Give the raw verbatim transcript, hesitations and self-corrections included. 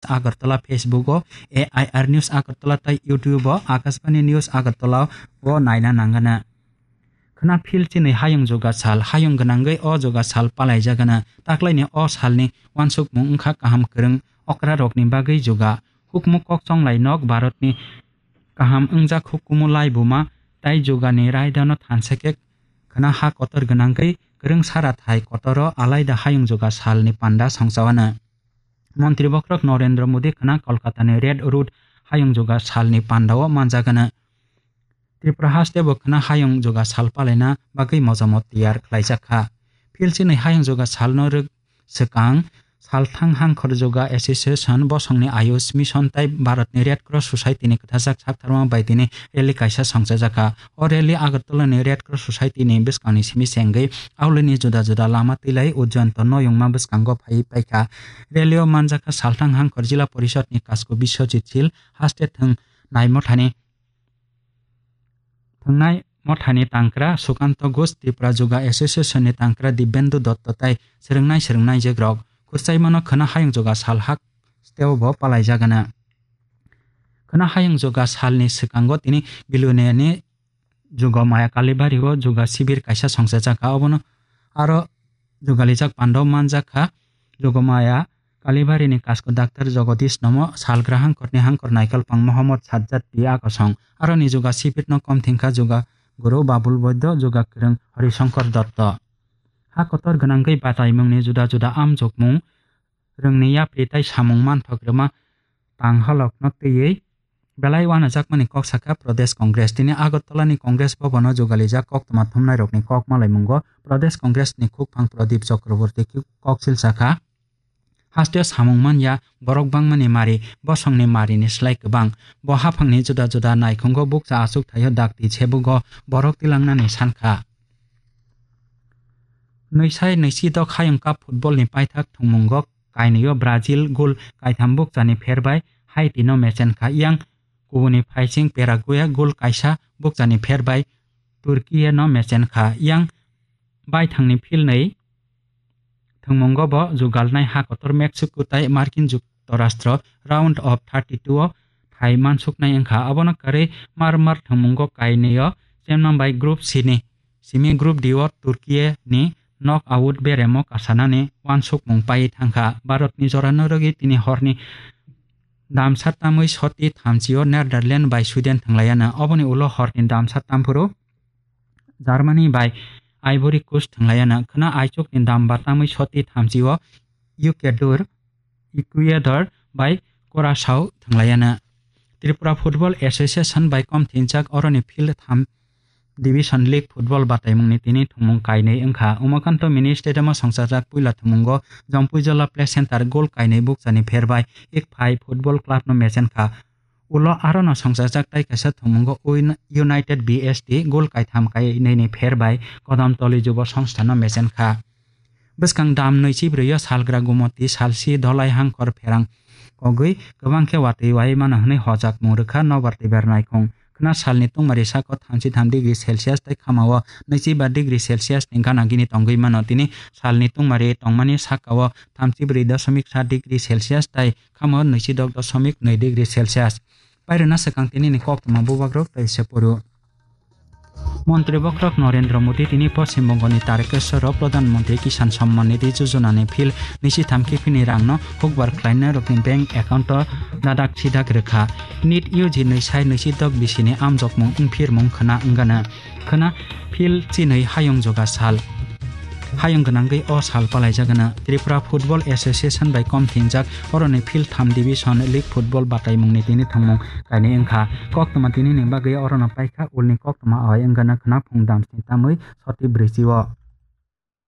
Agartala, Facebook o A I R News Agartala tei YouTube o Akashbani News Agartala o naina nangana. Khna phil chini hayung juga sal, hayung gwnangwi o juga sal palaijagana. Taklaini o salni wansukmung wngkha kaham kwrwng okrarokni bagwi juga. Hukmu kok chonglai nok Bharatni kaham wngjak hukumu laibuma tei jugani raidano thansa khe khna ha kotor gwnangwi kwrwng sara thai kotoro alaida hayung juga salni panda songchawana. Montri bokhorok Narendra Modi khna Kolkatani Red Road hayung juga salni pandao manjagana. Tripura haste bo khna hayung juga sal palaina bagwi mojamo tiyar khlaijak kha. Phil chini hayung juga salno rwk swkang Salthang Hangkhor Juga Association, bosongni Ayush Mission tei Bharatni Red Cross Society ni kwthajak saktharma bai tini rally kaisa songchajak kha. O rally Agartala ni Red Cross Society ni bwskangni simi se wngwi Aulini juda juda lama twilai Ujjayanto noyungma bwskango phaiwi paikha. Rally o manjakha Salthang Hangkhor Jila Porishad ni Kasko Biswajit Sil, haste thwng nai mothani Thwngnai mothani tangkra Sukanto Ghosh, Tripura Juga Association ni tangkra Dibendu Dotto tei swrwngnai swrwngnai jegrok. Khurchaimano khwna hayung juga sal hak steo bo palaijagana. Khwna hayung juga salni swkango tini Biluniyani Jugomaya Kalibari o juga sibir kaisa songchajak kha. Obono aro jugalijak pando manjak kha. Jugomaya Kalibari ni Kasko Doctor Jagadish Nomo, Salgra Hangkor ni Hangkor Naikolpang Mohammad Sajjad P A Kosong, aro ni juga sibir no kom thengkha juga guru Babul Boiddo, juga kwrwng Horishankar Dotto. Ha kotor gwnangwi bataimung ni juda juda amjokmung rwngni yapri tei samung manthok rwma tang halok no twiwi Belai wanajakmani kok sakha Pradesh Congress. Tini Agartala ni Congress Bhavan o jugalijak koktwma thumnairokni kok malaimungo Pradesh Congress ni khukphang Pradip Chakraborty kok silsakha. Hasteo samung manya borok bangmani mari, bosongni marini slai kwbang. Bo haphangni juda juda naikhungo bukcha achuk thaio dakti sebugo borok tilangnani sankha. Nwisai nwisidok hayung cup football ni paithak thwngmungo kainwio Brazil goal kaitham bukchani pherbai Haiti no mechen kha, yang kubuni phaising Paraguay goal kaisa bukchani pherbai Turkey no mechen kha, yang baithangni philnwi thwngmungo bo jugalnai ha kotor Mexico tei Markin Juktorastro round of thirty-two o thai mansuknai wngkha. Abono kwrwi mar mar thwngmungo kainwio chemnang bai Group C ni simi Group D o Turkey ni knock out beremo kasanani wansukmung pai thangkha. Bharatni jorano rwgwi tini horni damsa tamwi soti thamchi o Netherlands bai Sweden thwnglaiyana. Oboni ulo horni damsa tamphuru Germany bai Ivory Coast thwnglaiyana. Khwna aichukni damba tamwi soti thamchi o Ecuador, Ecuador bai Curaçao thwnglaiyana. Tripura Football Association bai kom thinjak oroni field tham Division League football bataimungni tini thwngmung kainwi wngkha. Umakanto Mini Stadium o songchajak puila thwngmungo Jampuijala Play Center goal kainwi bukchani pherbai Ikphai Football Club no mechen kha. Ulo arono songchajak tai kaisa thwngmungo Ui-, United B S T goal kaitham kainwini pherbai Kodamtoli Jubo Songstha no mechen kha. Bwskang dam nwichibrwi o salgra Gumoti salsi Dholai Hangkor pherang kogwi kwbang khe watwi wai mano hwnwi hojakmung rwkha nobar twibar naikhung. Khwna salni tungmari sako thamchi tham degree Celsius tei khamao nwichiba degree Celsius ni gana gini tongwi mano. Tini salni tungmari tongmani sakao thamchi brwi doshomik sa degree Celsius tei khamao nwichi dok doshomik nwi degree Celsius. Pairwna swkang tinini koktwma bubagrok tei se poro. Montri bokhorok Narendra Modi tini Poschim Bongoni Tarekeswaro Pradhan Mantri Kisan Samman Nidhi Yojana ni phil nisi tham kiphilni rangno hukbar khlainai rokni bank account o dadak sidak rwkha. Nit U G nwi sai nwi si dok bisini amjokmung wngphirmung khwna wngana. Khwna phil chinwi hayung juga sal. Hayung gwnangwi o sal palaijagana. Tripura Football Association bai kom thinjak oroni phil tham division league football bataimungni tini thwngmung kainwi wngkha. Koktwma tinini bagwi orono paikha ulni koktwma awai wngana khwna phung damsni tamwi soti brwichi o.